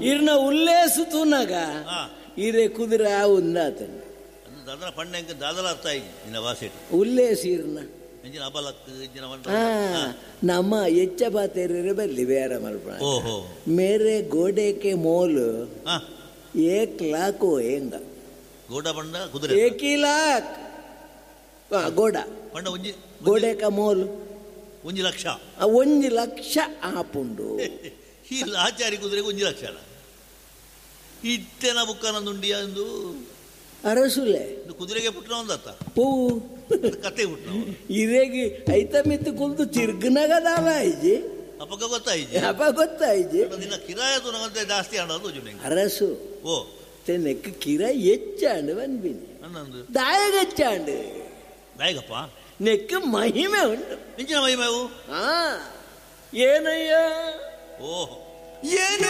ಇರ್ನ ಉಲ್ಲೇಸು ತೂನಗ ಹಾ. ಇರೆ ಕುದುರೆ ಆವುಂದಾತಂಡ ಅಂದು ದಾದನ ಪಂಡ ದಾದಲ ಅರ್ಥ ಆಯಿ ನಿನ್ನ ಭಾಷೆಟ್ ಉಲ್ಲೇಸು ಇರ್ನ ಎಂಜಿನ ಅಬಲಕ್ ಎಂಜಿನ ಮಂಟ ಆ, ನಮ್ಮ ಎಚ್ಚ ಪಾತೆರೆ ಬಲ್ಲಿ ಬೇರೆ ಮಲ್ಪ ಓಹೋ ಮೇರೆ ಗೋಡೆಕೆ ಮೋಲು ಹಾ ಏಕ್ ಲಾಕ್ ಹೆಂಗ ಗೋಡ ಪಂಡ ಕುದುರೆ ಏಕಿ ಲಾಕ್ ಆ, ಗೋಡ ಪಂಡ ಒಂಜಿ ಗೋಡೆಕ ಮೋಲು ಒಂಜಿ ಲಕ್ಷ ಆ, ಒಂಜಿ ಲಕ್ಷ ಆಪುಂಡು ಈ ಲಾಚಾರಿ ಕುದುರೆಗೆ ಒಂಜಿ ಲಕ್ಷ ಅಲ್ಲ ಇಟ್ಟೆನ ಬುಕ್ಕನ ಎಂದು ಅರಸುಲೆ ಇದು ಕುದುರೆಗೆ ಪುಟ್ಟನ ಒಂದತ್ತ ಪೂ ಕತೆ ಪುಟ್ಟನ ಇರೆಗಿ ಐತ ಮಿತ್ತು ಕುಲ್ದು ತಿರ್ಗನಗದಾಲ ಇಜ್ಜಿ ಅಪ್ಪಗ ಗೊತ್ತಾಯಿಜಿ ಅಪ್ಪ ಗೊತ್ತಾಯ್ಜಿ ನಿನ್ನ ಕಿರಾಯ ತುನಗಂತೆ ಜಾಸ್ತಿ ಆಡೋದು ಜುನೆಂಗೆ ಅರಸು ಓ ತೆನೆಕ್ ಕಿರ ಹೆಚ್ಚಾಂಡು ಬನ್ಬಿನಿ ಅನ್ನಂದು ದಾಯಗ ಹೆಚ್ಚಾಂಡು ದಾಯಗಪ್ಪ ನೆಕ್ ಮಹಿಮೆ ಉಂಟು ಇಂಚಿನ ಮಹಿಮೆವು ಆ ಏನಯ್ಯ ಓಹೋ ಏನು